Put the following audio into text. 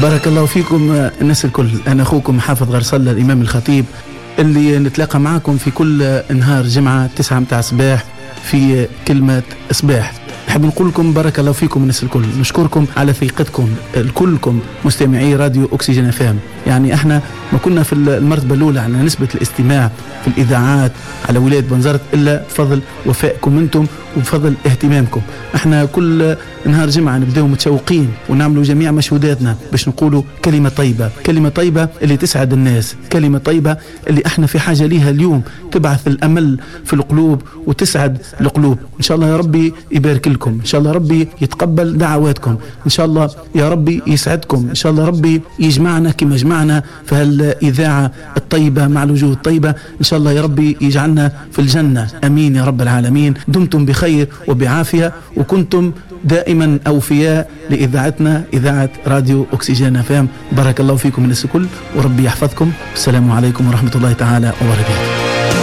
بارك الله فيكم الناس الكل. أنا أخوكم حافظ غرسلة الإمام الخطيب، اللي نتلاقى معكم في كل نهار جمعة 9 متاع صباح في كلمة صباح. نحب نقول لكم بارك الله فيكم الناس الكل، نشكركم على ثقتكم الكلكم مستمعي راديو أكسجين FM. يعني احنا ما كنا في المرتبة الأولى على نسبة الاستماع في الإذاعات على ولاية بنزرت إلا بفضل وفائكم أنتم وبفضل اهتمامكم. احنا كل نهار جمعة نبداو متشوقين ونعملوا جميع مجهوداتنا باش نقولوا كلمة طيبة، كلمة طيبة اللي تسعد الناس، كلمة طيبة اللي احنا في حاجة ليها اليوم، تبعث الأمل في القلوب وتسعد القلوب. إن شاء الله يا ربي يبارك لكم، إن شاء الله ربي يتقبل دعواتكم، إن شاء الله يا ربي يسعدكم، إن شاء الله ربي يجمعنا كما جمعنا في هالإذاعة الطيبة مع الوجوه الطيبة. إن شاء الله يا ربي يجعلنا في الجنة، أمين يا رب العالمين. دمتم بخير وبعافية، وكنتم دائما أوفياء لإذاعتنا إذاعة راديو أكسجين FM. بارك الله فيكم الناس الكل، وربي يحفظكم. السلام عليكم ورحمة الله تعالى وبركاته.